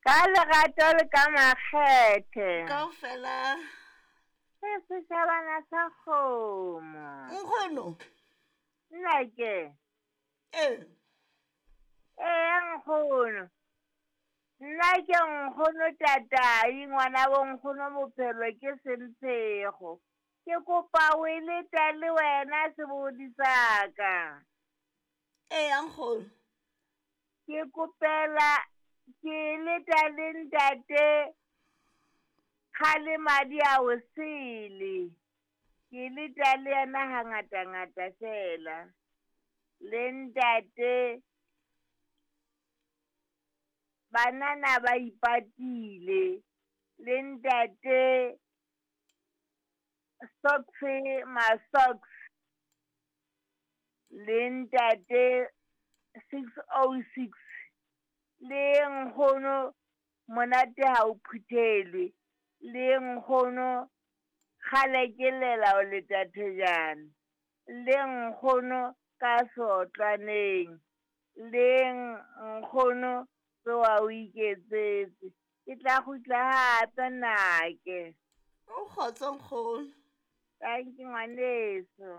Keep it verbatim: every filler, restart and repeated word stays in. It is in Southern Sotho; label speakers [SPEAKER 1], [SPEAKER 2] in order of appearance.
[SPEAKER 1] Ka lerato le ka makgethe.
[SPEAKER 2] Kaofela.
[SPEAKER 1] Se setjhabana sa kgomo.
[SPEAKER 2] Nkgono.
[SPEAKER 1] Nnake.
[SPEAKER 2] Ee.
[SPEAKER 1] Ee, nkgono. Nna ke nkgono tatai ngwana bo nkgono bophelo ke semphego. Ke kopa o e leta le wena sebodi sa ka.
[SPEAKER 2] Ee, nkgono.
[SPEAKER 1] Ke kopela ke leta le ntate kgale madi a o sele. Ke leta le yena hangata ngata fela. Le ntate banana ba ipatile. Le ntate socks ma socks. Le ntate six oh six. Le nkgono monate ha o phuthelwe. Le nkgono kgale ke lela o leta thejana. Le nkgono ka sotlwaneng. Le nkgono tsoha o iketsetse. Ke tla kgutla hape nnake.
[SPEAKER 2] O kgotso nkgono.
[SPEAKER 1] Thank you ngwaneso.